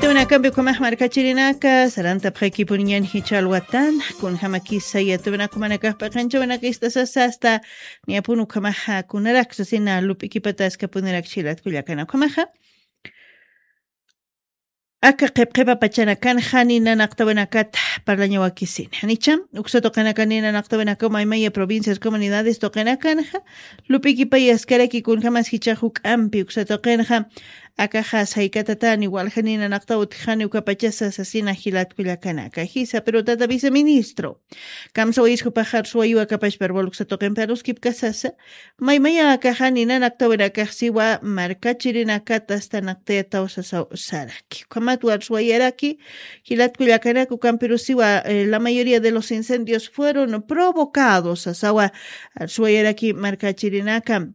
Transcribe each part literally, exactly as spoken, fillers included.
Tuwinakampi ukhamax markachirinaka sarantapxakipuniñan jichha alwatan, kunjamakisa yatuwinakumanakax p'iqanchawinaka istasasa asta niyapun ukhamaxa kunaraksa sina lup'ikipataskapunirak chilatkullakana ukhamaxa. Aka qhipqhipa pachanakanxa ninanaqtawinakata parlañawakisini janicha, uksa tuqinaka ninanaqtawinakaw maymaya provincias comunidades tuqinakanxa lup'ikipayaskaraki kunjamas jichax juk'ampi uksa tuqinxa. Akaxa saykatatani walja ninanaqtaw utjani ukapachasa sasina jilatkullakanaka jisa pero tata viceministro, kamsawayis jupaxar suwayu akapashpar waluksa tuqinpi aruskipkasasa. Maymaya akaxa ninanaqtawinakax siwa markachirinakata astanaqtayataw sasaw saraki ukhamat warsuwayaraki. Jilatkullakanaka ukampirusiwa la mayoría de los incendios fueron provocados sasawa. Arsuwayaraki markachirinaka.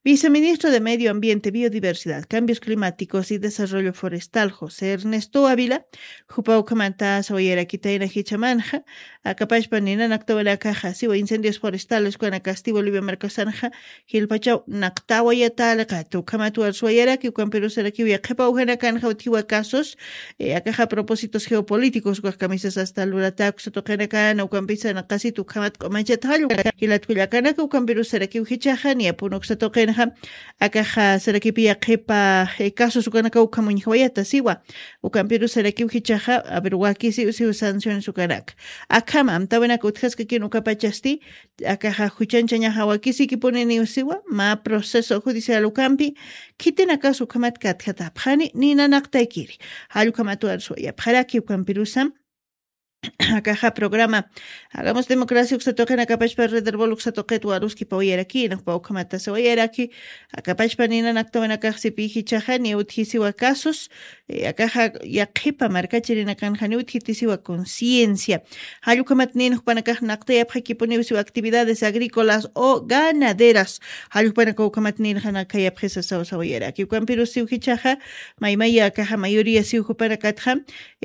Viceministro de Medio Ambiente, Biodiversidad, Cambios Climáticos y Desarrollo Forestal, José Ernesto Ávila, jupa ukhamanta sawayarakitayna jichamanxa akapashpa ninanaktawanakaxa siwa incendios forestales ukanakasti Bolivia markasanxa jilpachaw naqtawayataliqata ukhamat warsuwayaraki ukampirusarakiw yaqhipa ujanakanxa utjiwa casos. Akaxa propósitos geopolíticos ukax kamisas asta luratakusa tuqinakana ukampisa naqasit ukhamat q'umachata jallwa jilatkullakanaka ukampirusarakiw jichaxa niyapun uksa tuqinxa. Akaxa sarakipi yaqhipa casos ukanaka ukhamuñjawayata siwa. Ukampirusarakiw jichaxa aver wakisiw siw sanciones ukanaka. Akhama amtawinaka utjaskakin ukapachasti akaxa juchanchañaxa wakisikipuniniw siwa mä proceso judicial ukampi. Khitinakas ukhamat katjatapxani ninanaqtaykiri. Jallukhamat warsuwayapxaraki ukampirusam akaxa programa hagamos democracia uksa tuqinakapashpa rederbol uksa tuqit waruskipawayarakina jupa ukhamata sawayaraki. Akapashpa ninanaktawinakaxsipi jichaxa ni utjisiwa casos. Akaxa yaqhipa markachirinakanxa ni utjitisiwa conciencia. Jallukhamat nin jupanakax naqtayapxakipuniw siwa actividades agrícolas o ganaderas. Jallukhanaka ukhamat nirxanakayapxisa sawsawayaraki ukampirusiw jichaxa. Maymaya akaxa mayoría siw jupanakatxa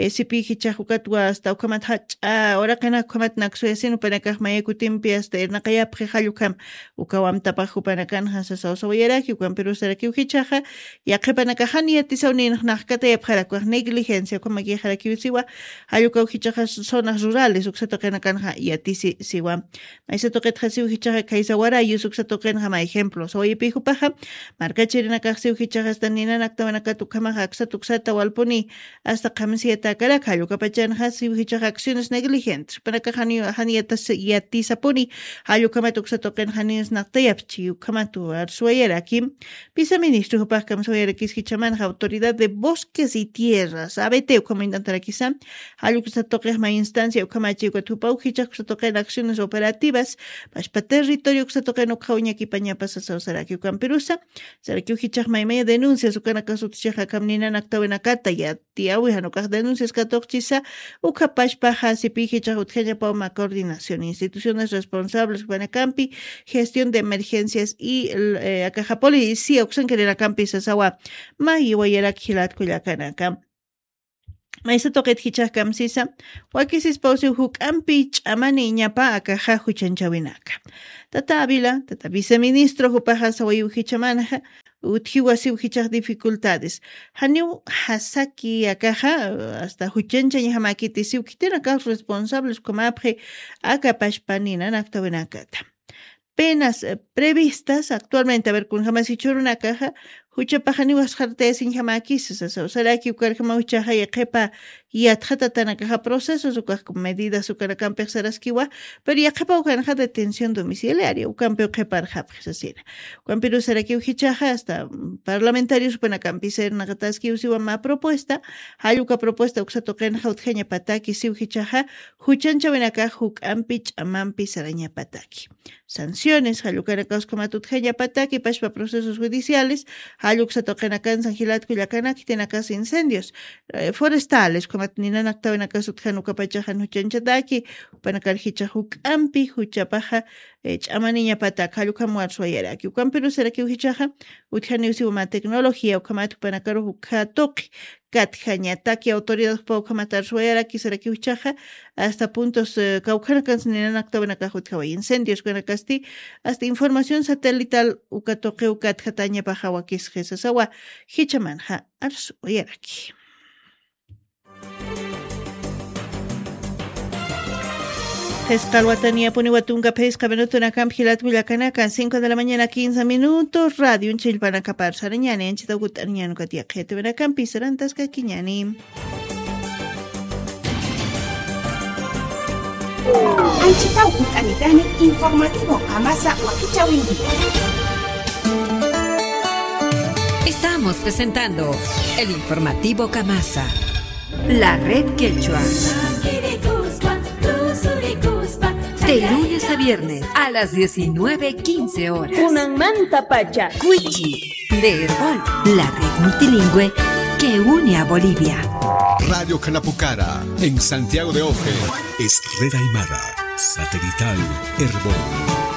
sipi jichax ukatwa asta ukhamat jach'a uraqinaka ukhamat naksuyasin jupanakax maya kutimpi asta irnaqayapxi jallukham. Ukawamtapax jupanakanxa sasawsawayaraki ukampirusarakiw jichaxa. Yaqhipanakaxan yatisaw ninxnaqkatayapxarakwax negligencia ukhamakixarakiw siwa. Jallukaw jichaxa zonas rurales uksa tuqinakanxa yatisi siwa. Maysa tuqitxa siw jichaxa khaysa warayus uksa tuqinxa mä ejemplo sawayipi jupaxa. Markachirinakax siw jichaxa asta ninanaktawanakat ukhamaxa aksat uksata walpuni asta qhamsiyatakaraka jallukapachanxa siw jichaxa acciones negligentes panakax janiyatas yatisapuni. Jallukhamat uksa tuqinxa ninsnaqtayapchi ukhamatu arsuwayaraki. Viceministro jupax kamsawayarakis jichamanxa autoridad de bosques y tierras abt ukhamuñtantarakisa. Jalluksa tuqixma instancia ukhamachi ukat jupa ujichax uksa tuqin acciones operativas pashpa territorio uksa tuqin ukxaw ñakipanyapasasawsaraki ukampirusa. Saraki ujichax maymaya denuncias ukanakas utjichaxa kamninanaktawinakata yatiyawi janukax denuncias katuqchisa. Ukhapashpaxa sipi jichax utjañapawma coordinación instituciones responsables ukanakampi gestión de emergencias y akaxa policía uksankarinakampi sasawa. Mayiwayarak jilatkullakanaka. Maysa tuqit jichax kamsisa. Wakisispawsiw juk'ampi ch'amani iñapa akaxa juchanchawinaka. Tata avila tata viceministro jupaxa sawayiw jichamanxa utjiwasiw jichax dificultades. Janiw jasaki akaxa asta juchanchañjamakiti siw khitinakax responsables ukamapxi. Akapashpa ninanaktawinakata penas previstas actualmente aver kunjamasi churunakaxa juchapaxaniw asxartayasiñjamäkisa sasaw saraki ukarjamaw ichaxa yaqhipa yatxatatanakaxa procesos ukax medidas ukanakampix saraskiwa. Pero yaqhipaw kanxa detención domiciliaria ukampiw qhiparxapxi sasina. Ukampiruw sarakiw jichaxa asta parlamentarios upanakampisa irnaqataskiw siwa mä propuesta. Jalluka propuesta uksa tuqinxa utjañapataki siw jichaxa juchanchawinakax juk'ampi ch'amampi sarañapataki sanciones jallukanakaskuma tutjañapataki pashpa procesos judiciales. Jalluksa tuqinakansan jilatkullakanak jitinakas incendios forestales kumat ninanaktawinakas utjan ukapachaxan juchanchataki. Upanakar jichax juk'ampi juchapaxa ch'amaniñapatak jallukam warsuwayaraki ukampirusarakiw jichaxa. Utjaniw siwama tecnología ukhamat upanakaru jukha tuqi katjañataki autoridad jupa ukhamatar suwayarakisarakiw jichaxa. Asta puntos kawkhanakans ninanaktawinakax utjawa incendios ukanakasti asta información satelital uka tuqiw katjatañapaxawakisxi sasawa. Jichamanxa arsuwayaraki. Qisqa alwataniya puniwa tunka phisqa minutunakampi jilat willakanakan, cinco de la mañana, quince minutos. Radioñ chillpanakapar sarañäni, anchhitaw kut'aniñäni, ukat yaqhiyatiwinakampi sarantaskakiñäni. Anchhitaw kut'anitani, informativo Kamasa wakichäwinki. Estamos presentando el informativo Kamasa. La red quechua. De lunes a viernes a las diecinueve quince horas. Kunanmantapacha. Cuichi, de Erbol, la red multilingüe que une a Bolivia. Radio Canapukara, en Santiago de Oje. Es Red Aymara, satelital, Erbol.